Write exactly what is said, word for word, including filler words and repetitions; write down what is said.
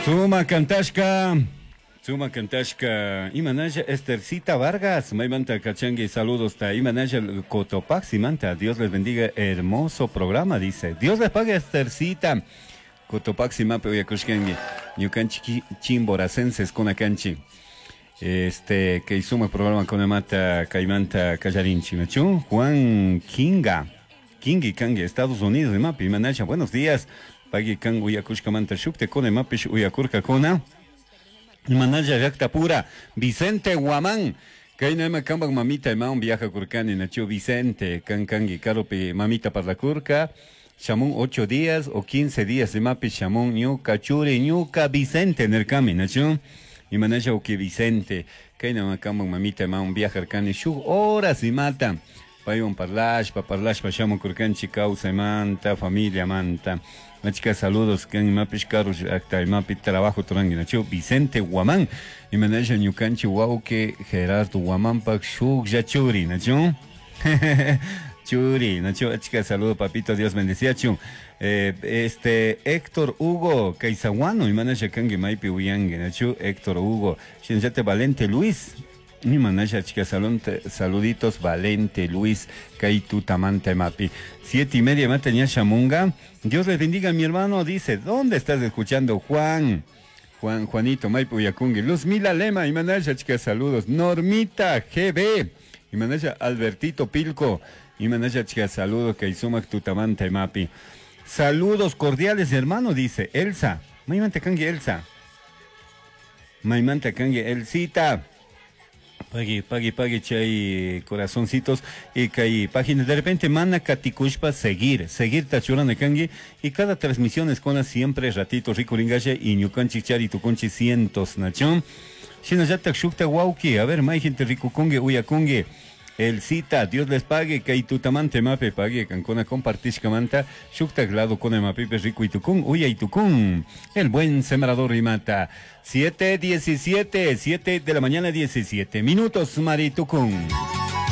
Suma kantashka, suma kantashka, imanalla Estercita Vargas, maymanta kachangi, saludos ta, imanalla Cotopaxi manta, Dios les bendiga, hermoso programa, dice. Dios les pague Estercita. Cotopaxi mape uyakushkangi, ñukanchik chimboracenses kunakanchi. Este, que suma programa kunamata kaymanta kallarinchi, nachu? Juan Kinga, Kingi Kangi, Estados Unidos, imapi, imanalla, buenos días. Pagui kan uyakushkamanta shukte kuna imapish uyakurkakuna. Imanalla llaktapura, Vicente Guamán. Kayna ima kanpak mamita imawan viajakurkani, nachu Vicente, kan kangi karupi mamita parlakurka. Shamun ocho días o quince días imapi shamun ñuka churi ñuka Vicente nirkami, nachu. Imanalla uki Vicente, kayna ima kanpak mamita imawan viajarkani shuk horas imata. Paywan parlashpa, parlashpa shamukurkanchik kawsaymanta, familiamanta. Achka saludos kan imapish karu llakta imapi trabajo turangi, nachu Vicente Guamán. Imanalla ñukanchik wawqi Gerardo Guamánpak shuklla churi, nachu. Churi, nachu, achka saludo papito, Dios bendeciachun. Eh, este Héctor Hugo Kaisaguano, imanalla kangi maypi uyangi, nachu Héctor Hugo. Shinllate Valente Luis. Imanalla achka salunte, saluditos Valente Luis Kaitutamanta imapi. Siete y media mata ñasha munga. Dios les bendiga mi hermano, dice, ¿dónde estás escuchando Juan? Juan, Juanito, maypi uyakungi. Luz Mila Lema, imanalla achka saludos. Normita G B, imanalla Albertito Pilco, imanalla achka saludos Kaisumak tutamanta imapi. Saludos cordiales hermano, dice Elsa. Maymanta kangi Elsa. Maymanta kangi Elsita. Pagui, pagui, pagui, chay corazoncitos y kay página. De repente mana katikushpa seguir, seguir tachurana kangi y cada transmisión es con siempre ratito ricuringalle y ñukanchik chari tukunchi cientos nachón. Shinallatak shukta wauki, a ver, may gente ricukungi, uyakungi. El cita, Dios les pague, kay tutamante mape pague, cancona compartishkamanta, shuktak lado con mapipe rico y tucún, uya y tucún. El buen sembrador y mata. Siete diecisiete, siete de la mañana diecisiete minutos, Maritucún.